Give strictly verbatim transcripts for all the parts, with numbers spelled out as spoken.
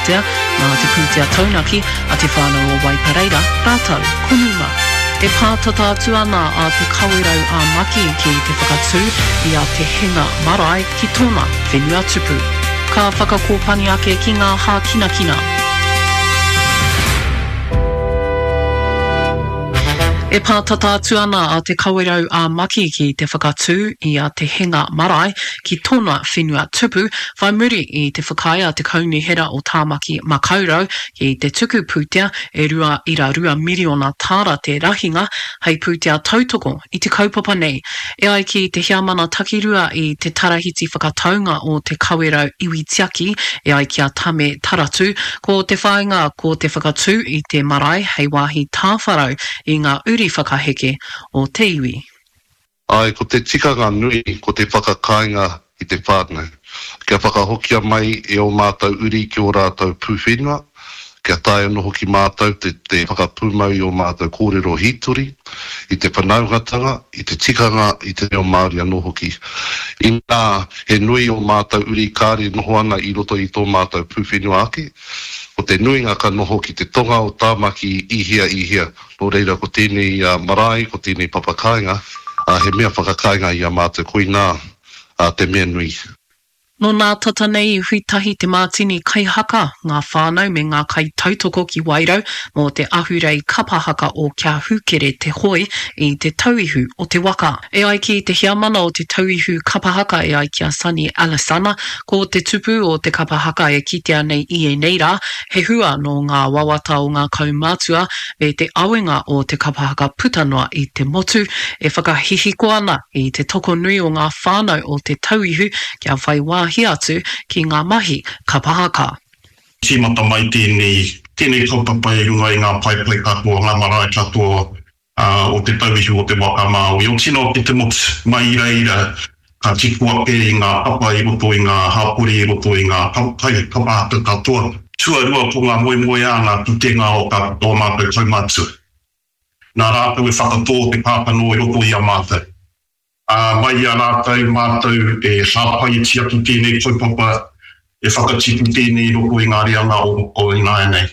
pūtea nā te pūtea taunaki a Te Whānau o Waipareira rātou ko Numa. E pātata atu ana a Te Kawerau ā Maki ki te whakatū i a Te Henga Marae ki tōna whenua tupu. Ka whakakōpani ake ki ngā hākinakina. E pātata atu ana a Te Kawerau ā Maki ki te whakatū i a Te Henga Marae ki tōna whenua tupu, whai muri i te whakaae a te Kaunihera o Tāmaki Makaurau ki te tuku pūtea e rua ira rua miriona tāra te rahinga hei pūtea tautoko i te kaupapa nei. E ai ki te heamana takirua i te Tarahiti Whakataunga o Te Kawerau Iwi Tiaki, e ai ki a Tame Taratu, ko te whāinga ko te whakatū i te marae hei wāhi tāwharau i ngā uri whakaheke o te iwi. Āe, ko te tikanga nui ko te whakakāinga i te whānau. Kia whakahokia mai e ō mātou uri ki ō rātou pūwhenua, kia taea anō hoki mātou te te whakapūmau i ō mātou kōrero hītori, i te whanaungatanga, i te tikanga, i te reo Māori anō hoki. Inā, he nui ō mātou uri kāre noho ana i roto i tō mātou pūwhenua ake, ko te nuinga ka noho ki te tonga o Tāmaki i hea i hea, nō reira ko tēnei marae, ko tēnei papakāinga, he mea whakakāinga i a mātou, koinā te mea nui. Nō nā tata nei i hui tahi te mātini kaihaka, ngā whānau me ngā kaitautoko ki Wairau mō te ahurei kapa haka o Kia Hūkere Te Hoe i Te Tauihu o te Waka. E ai ki te heamana o Te Tauihu Kapa Haka e ai ki a Sonny Alesana, ko te tupu o te kapa haka e kitea nei i ēnei rā, he hua nō ngā wawata o ngā kaumātua me te awenga o te kapa haka puta noa i te motu, e whakahihiko ana i te tokonui o ngā whānau o Te Tauihu kia whai wāhi atu ki ngā mahi kapa haka. Tīmata mai tēnei, tēnei kaupapa i runga i ngā paepae katoa, ngā marae katoa o Te Tauihu o te Waka Māui, o tino ki te motu. Mai i reira, ka tipu ake i ngā papa i roto i ngā hapori, i roto i ngā kapa haka katoa. Tuarua ko ngā moemoeā, ngā pūkenga o ō mātou kaumātua. Nā rātou e whakatō te kākano i roto i a mātou. Ā, mai i a rātou mātou e hāpai e tiaki tēnei kaupapa, e whakatipu tēnei i roto i ngā reanga o ināianei.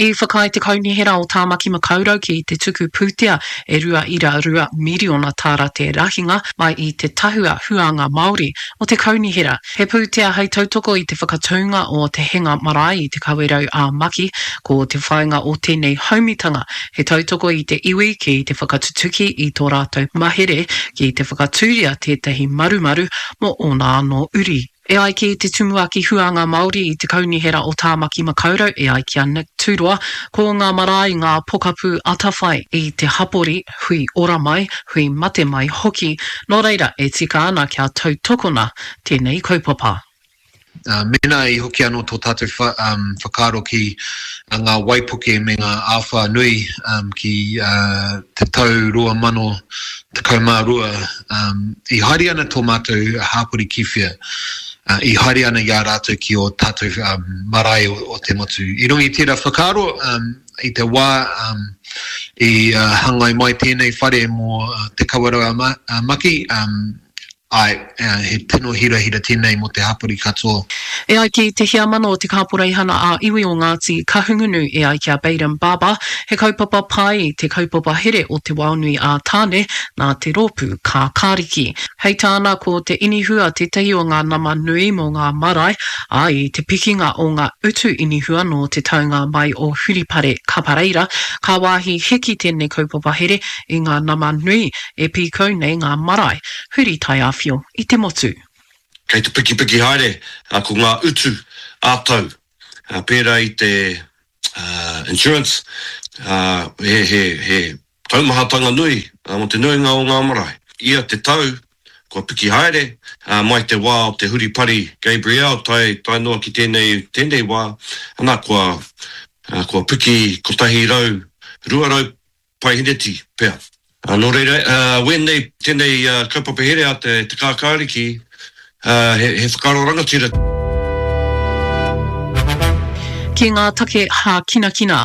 I whakaae te Kaunihera o Tāmaki Makaurau ki te tuku pūtea e rua ira rua miriona tāra te rahinga mai i te Tahua Huānga Māori o te Kaunihera. He pūtea hei tautoko i te whakatūnga o Te Henga Marae i Te Kawerau ā Maki. Ko te whāinga o tēnei haumitanga he tautoko i te iwi ki te whakatutuki i tō rātou mahere ki te whakatūria tētahi marumaru mō ōna anō uri. E ai ki te Tumuaki Huānga Māori i te Kaunihera o Tāmaki Makaurau, e ai ki a Nick Tūroa, ko ngā marae ngā pokapū atawhai i te hapori, hui ora mai, hui mate mai hoki. Nō reira, e tika ana kia tautokona tēnei kaupapa. Mēnā i hoki anō tō tātou whakaaro ki ngā waipuke me ngā āwhā nui ki te tau rua mano tekau mā rua, i haere ana tō mātou hāpori ki whea? I haere ana i a rātou ki ō tātou marae o te motu. I runga i tērā whakaaro, i te wā i hangai mai tēnei whare mō Te Kawerau a Maki, Āe, he tino hirahira tēnei mō te hapori katoa. E ai ki te heamana o te Kāporeihana ā-Iwi o Ngāti Kahungunu, e ai ki a Bayden Barber, he kaupapa pai te kaupapa here o Te Waonui ā Tāne nā te rōpū Kākāriki. Hei tāna, ko te inihua tētahi o ngā nama nui mō ngā marae, ā, i te pikinga o ngā utu inihua nō te taunga mai o Huripare Kapareira, ka wāhi hiki tēnei kaupapa here i ngā nama nui e pīkau nei ngā marae. Huri taiāwhio i te motu. Kei te pikipiki haere ko ngā utu ā-tau, pērā i te insurance, he taumahatanga nui mō te nuinga o ngā marae. Ia te tau, kua piki haere, mai te wā o te huripari Gabrielle tae, tae noa ki tēnei, tēnei wā, ana, kua, kua piki kotahi rau, rua rau Paiheneti pea. Nō reira, wēnei, tēnei kaupapa here a te Kākāriki, he whakaaro rangatira. Ki ngā take hākinakina,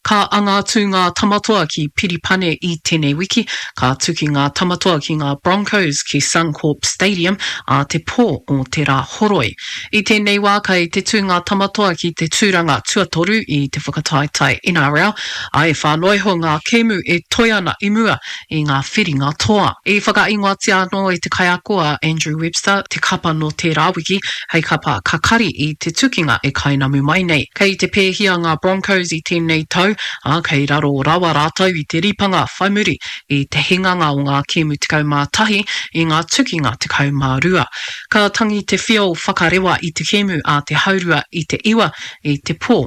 ka anga atu ngā Tamatoa ki Piripane i tēnei wiki, ka tuki ngā Tamatoa ki ngā Broncos ki Suncorp Stadium ā te pō o te Rāhoroi. I tēnei wā kei te tū ngā Tamatoa ki te tūranga tuatoru i te whakataetae NRL, ā, e whā noa iho ngā kēmu e toe ana i mua i ngā whiringa toa. I whakaingoatia anō e te kaiako a Andrew Webster te kapa nō tērā wiki hei kapa kakari i te tukinga e kainamu mai nei. Kei te pēhia ngā Broncos i tēnei tau, ā, kei raro rawa rātou i te ripanga whai muri i te hinganga o ngā kēmu tekau mā tahi i ngā tukinga tekau mā rua. Ka tangi te whio whakarewa i te kēmu a te haurua i te iwa i te pō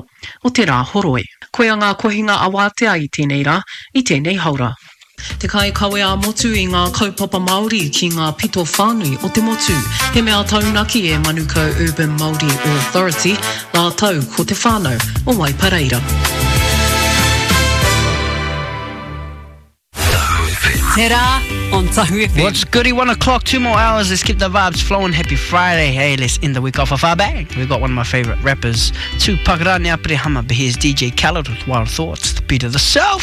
o te Rāhoroi. Koia ngā kohinga awātea i tēnei rā, i tēnei haora. Te kaikawe ā-motu i ngā kaupapa Māori ki ngā pito whānui o te motu. He mea taunaki e Manukau Urban Māori Authority rātou ko te whānau o Waipareira. Te rā on Tahu FM. What's goody? One o'clock, two more hours. Let's keep the vibes flowing. Happy Friday. Hey, let's end the week off with our bang. We've got one of my favorite rappers, Tupac Rani Aperehama, but here's DJ Khaled with Wild Thoughts, the beat of the South.